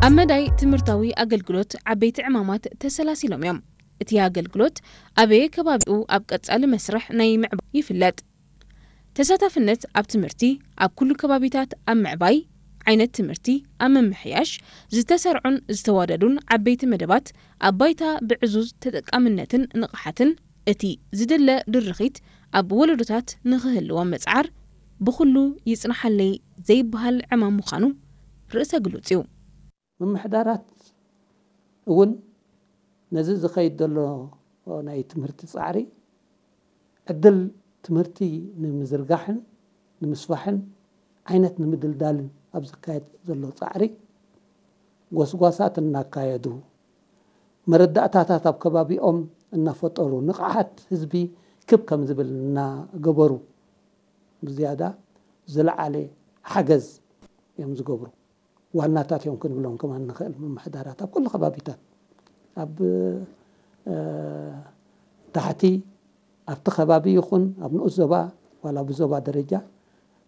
ኣብ መዳይ ትምህርታዊ ኣገልግሎት ዓበይቲ ዕማማት ተሰላሲሎም እዮም። እቲ ኣገልግሎት ኣበየ ከባቢኡ ኣብ ቀጻሊ መስርሕ ናይ ምዕባይ ይፍለጥ። ተሳታፍነት ኣብ ትምህርቲ ኣብ ኩሉ ከባቢታት ኣብ ምዕባይ፣ ዓይነት ትምህርቲ ኣብ ምምሕያሽ፣ ዝተሰርዑን ዝተዋደዱን ዓበይቲ መደባት ኣብ ባይታ ብዕዙዝ ተጠቃምነትን ንቕሓትን እቲ ዝድለ ድርኺት ኣብ ወለዶታት ንኽህልዎም ምጽዓር ብኹሉ ይጽንሓለይ ዘይበሃል ዕማም ምዃኑ ርእሰ ግሉጽ እዩ። ምምሕዳራት እውን ነዚ ዝኸይድ ዘሎ ናይ ትምህርቲ ጻዕሪ ዕድል ትምህርቲ ንምዝርጋሕን ንምስፋሕን ዓይነት ንምድልዳልን ኣብ ዝካየድ ዘሎ ጻዕሪ ጎስጓሳት እናካየዱ መረዳእታታት ኣብ ከባቢኦም እናፈጠሩ ንቕሓት ህዝቢ ክብ ከም ዝብል እናገበሩ ብዝያዳ ዝለዓለ ሓገዝ እዮም ዝገብሩ። ዋናታት እዮም ክንብሎም ከማን ንኽእል ምምሕዳራት ኣብ ኩሉ ከባቢታት ኣብ እ፣ ታሕቲ ኣብቲ ከባቢ ይኹን ኣብ ንኡስ ዞባ ዋላ ብዞባ ደረጃ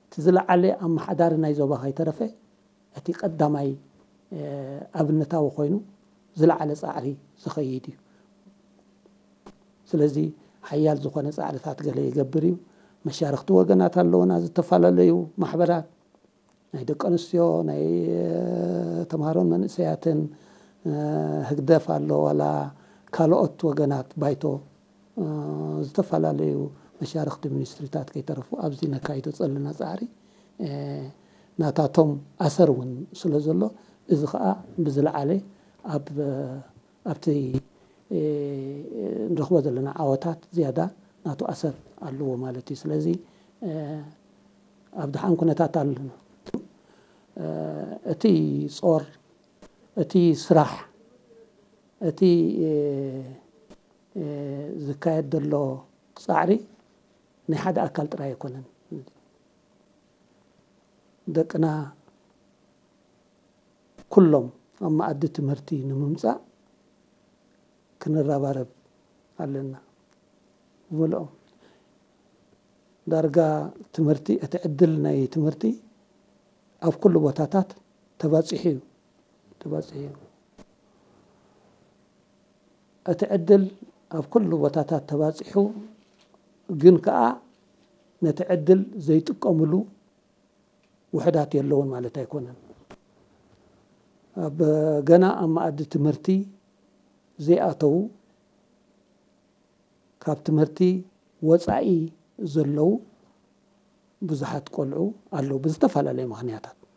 እቲ ዝለዓለ ኣመሓዳሪ ናይ ዞባ ከይተረፈ እቲ ቀዳማይ እ፣ ኣብነታዊ ኮይኑ ዝለዓለ ጻዕሪ ዝኸይድ እዩ። ስለዚ ሓያል ዝኾነ ጻዕርታት ገለ ይገብር እዩ። መሻርኽቲ ወገናት ኣለውና፣ ዝተፈላለዩ ማሕበራት ናይ ደቂ ኣንስትዮ ናይ እ፣ ተምሃሮን መንእሰያትን እ፣ ህግደፍ ኣሎ ዋላ ካልኦት ወገናት ባይቶ እ፣ ዝተፈላለዩ መሻርኽቲ ሚኒስትሪታት ከይተረፉ ኣብዚ ነካይዶ ዘለና ጻዕሪ እ፣ ናታቶም ኣሰር እውን ስለ ዘሎ እዚ ከዓ ብዝለዓለ ኣብ ኣብቲ እ፣ ንረኽቦ ዘለና ዓወታት ዝያዳ ናቱ ኣሰር ኣለዎ ማለት እዩ። ስለዚ እ፣ ኣብ ደሓን ኩነታት ኣለና። እ፣ እቲ ጾር፣ እቲ ስራሕ፣ እቲ እ፣ እ፣ ዝካየድ ዘሎ ጻዕሪ ናይ ሓደ ኣካል ጥራይ ኣይኮነን። ደቅና ኩሎም ኣብ መኣዲ ትምህርቲ ንምምጻእ ክንረባረብ ኣለና። ብምልኦም ዳርጋ ትምህርቲ እቲ ዕድል ናይ ትምህርቲ ኣብ ኩሉ ቦታታት ተባጺሑ እዩ ተባጺሑ እዩ። እቲ ዕድል ኣብ ኩሉ ቦታታት ተባጺሑ ግን ከኣ ነቲ ዕድል ዘይጥቀምሉ ውሕዳት የለውን ማለት ኣይኮነን። ኣብ ገና ኣብ መኣዲ ትምህርቲ ዘይኣተዉ ካብ ትምህርቲ ወጻኢ ዘለዉ ብዙሓት ቆልዑ ኣለዉ ብዝተፈላለየ ምኽንያታት።